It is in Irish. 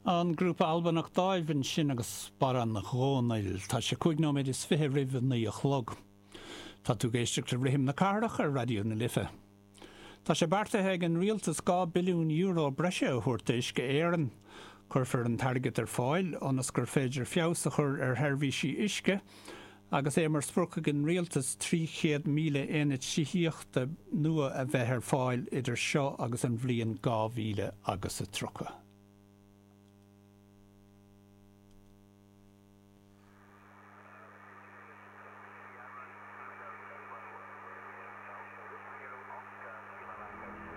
An grúpa Albanach Dàimh ansin agus Bodhrán Dhòmhnaill. Tá sé 25 nóiméad roimh a 9 a chlog. Tá tú ag éisteacht le Rithim na Cathrach ar Raidió na Life. Tá sé beartaithe ag an rialtas €2 billiún breise a thabhairt d'Uisce Éireann. Cuirfear an t-airgead ar fáil ionas gur féidir feabhas a chur ar sheirbhísí uisce agus é mar sprioc ag an rialtas 300,000 aonad tithíochta nua a bheith ar fáil idir seo agus an bhliain 2030.